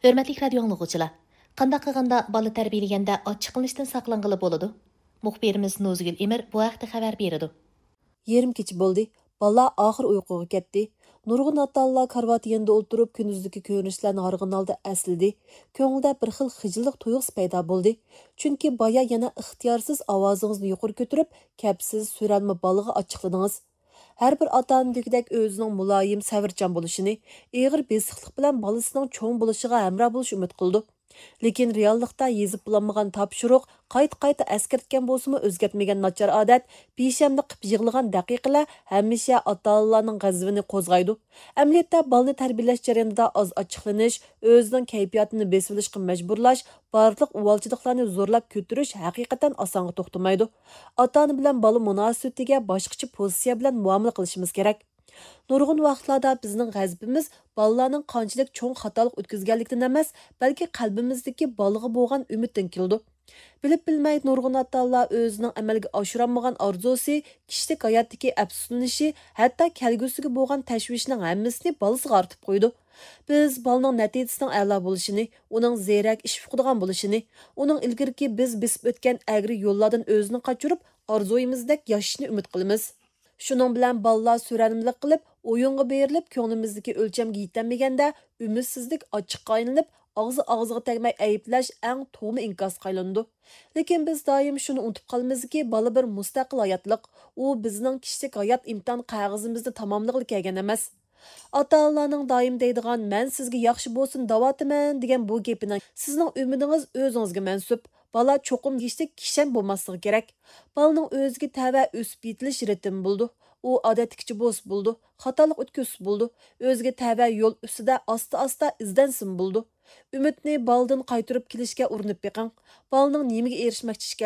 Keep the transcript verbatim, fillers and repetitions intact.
ھۆرمەتلىك رادىيو ئاڭلىغۇچىلار، قانداق قىلغاندا بالا تەربىيەلىگەندە ئاچچىقلىنىشتىن ساقلانغىلى بولىدۇ؟ مۇخبىرىمىز نوزىگۈل ئىمىر بۇ ھەقتە خەۋەر بېرىدۇ. يېرىم كېچە بولدى. بالىلار ئاخىر ئۇيقۇغا كەتتى. نۇرغۇن ئاتا-ئانىلار كارىۋات يېنىدا ئولتۇرۇپ، كۈندۈزدىكى كۆرۈنۈشلەرنى ھارغىن ھالدا ئەسلىدى. كۆڭلىدە بىر خىل خىجىللىق تۇيغۇسى پەيدا بولدى. چۈنكى بايا يەنە ئىختىيارسىز ئاۋازىڭىزنى يۇقىرى كۆتۈرۈپ، كەپسىز، سۆرەلمە بالىغا ئاچچىقلىدىڭىز. ھەر بىر ئاتا-ئانا دېگۈدەك ئۆزىنىڭ مۇلايىم، سەۋرچان بولۇشىنى، ئېغىر بېسىقلىق بىلەن بالىسىنىڭ چوڭ بولۇشىغا ھەمراھ بولۇشىنى ئۈمىد قىلىدۇ. لېكىن رېئاللىقتا يېزىپ بولالمىغان تاپشۇرۇق، قايتا-قايتا ئەسكەرتكەن بولسىمۇ ئۆزگەرتمىگەن ناچار ئادەت، بىشەملىك قىلىپ يىغلىغان دەقىقىلەر ھەمىشە ئاتا-ئانىلارنىڭ غەزىپىنى قوزغايدۇ. ئەمەلىيەتتە بالىنى تەربىيەلەش جەريانىدا ئاز ئاچچىقلىنىش، ئۆزىنىڭ كەيپىياتىنى بېسىۋېلىشقا مەجبۇرلاش، بارلىق ئۇۋالچىلىقلارنى زورلاپ كۆتۈرۈش ھەقىقەتەن ئاسانغا توختىمايدۇ. ئاتا-ئانا بىلەن بالا مۇناسىۋىتىگە باشقىچە پوزىتسىيە بىلەن مۇئامىلە قىلىشىمىز كېرەك. نۇرغۇن ۋاقىتلاردا بىزنىڭ غەزىپىمىز بالىلارنىڭ قانچىلىك چوڭ خاتالىق ئۆتكۈزگەنلىكتىن ئەمەس، بەلكى قەلبىمىزدىكى بالىغا بولغان ئۈمىدتىن كېلىدۇ. بىلىپ-بىلمەي نۇرغۇن ئاتا-ئانىلار ئۆزىنىڭ ئەمەلگە ئاشۇرالمىغان ئارزۇسى، كىشىلىك ھاياتتىكى ئەپسۇسلىنىشى، ھەتتا كەلگۈسىگە بولغان تەشۋىشىنىڭ ھەممىسىنى بالىسىغا ئارتىپ قويىدۇ. بىز بالىنىڭ نەتىجىسىنىڭ ئەلا بولۇشىنى، ئۇنىڭ زېرەك، ئىش ئۇقىدىغان بولۇشىنى، ئۇنىڭ ئىلگىرىكى بىز بېسىپ ئۆتكەن ئەگرى يوللاردىن ئۆزىنى قاچۇرۇپ، ئارزۇيىمىزدەك ياشىشىنى ئۈمىد قىلىمىز. شۇنىڭ بىلەن بالىلار سۆرەلمىلىك قىلىپ، ئويۇنغا بېرىلىپ، كۆڭلىمىزدىكى ئۆلچەمگە يېتەلمىگەندە، ئۈمىدسىزلىك ئاچچىققا ئايلىنىپ، ئاغزى ئاغزىغا تەگمەي ئەيىبلەش ئەڭ توغما ئىنكاسقا ئايلىنىدۇ. لېكىن بىز دائىم شۇنى ئۇنتۇپ قالىمىزكى، بالا بىر مۇستەقىل ھاياتلىق. ئۇ بىزنىڭ كىشىلىك ھايات ئىمتىھان قەغىزىمىزنى تاماملىغىلى كەلگەن ئەمەس. ئاتا-ئانىلارنىڭ دائىم دەيدىغان، «مەن سىزگە ياخشى بولسۇن دەۋاتىمەن» دېگەن بۇ گېپىنىڭ، سىزنىڭ ئۈمىدىڭىز ئۆزىڭىزگە مەنسۇپ. بالا چوقۇم دېگۈچىلىك كىشەن بولماسلىقى كېرەك. بالىنىڭ ئۆزىگە تەۋە ئۆسۈپ يېتىلىش رىتىمى بولىدۇ. ئۇ ئادەتتىكىچە بولسا بولىدۇ، خاتالىق ئۆتكۈزسە بولىدۇ. ئۆزىگە تەۋە يول ئۈستىدە ئاستا-ئاستا ئىزدەنسىمۇ بولىدۇ. ئۈمىدنى بالىدىن قايتۇرۇپ كېلىشكە ئۇرۇنۇپ بېقىڭ. بالىنىڭ نېمىگە ئېرىشمەكچى ئىكەن؟